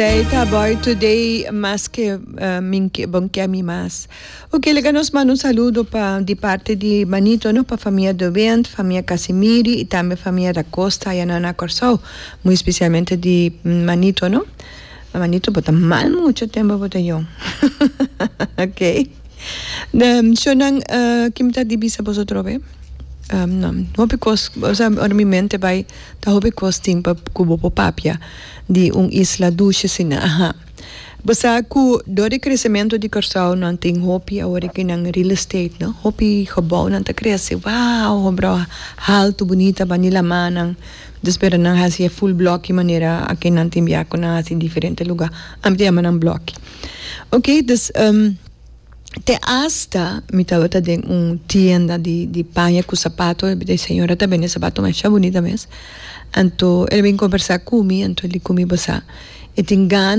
Esey ta boy today mas ke min ke bon ke mi mas. Ok laga nos manda un saludo pa di parti di Manito no pa famia De Windt, famia Casimiri y tambe famia Da Costa aya nan na Corsou muy especialmente di Manito no. Manito bo ta mal mucho tempo bo ta yong ok. Shownan ki mi ta di bisa boso atrobe hopi kos osea ora mi mente bai Ta hopi kos tin pa ku bo por papia di un isla dushi asina. Aha. Bo sa ku dor di kresementu di Kòrsou nan tin hopi awor aki nan real estate no. Hopi gebounan ta krese. Wow! Hobrou haltu bunita bani lamanan. Nos spera nan hasi e full bloki manera aki nan tin bia ku nan hasi diferente luga. Ami ta yama nan bloki. Oke, dus. Te asta mi tabata den un tienda di di paña ku sapato, e señora ta bende sapato masha bunita mes. Anto el a bin kombersá ku mi, anto el di ku mi, Bo sa, e tin gana.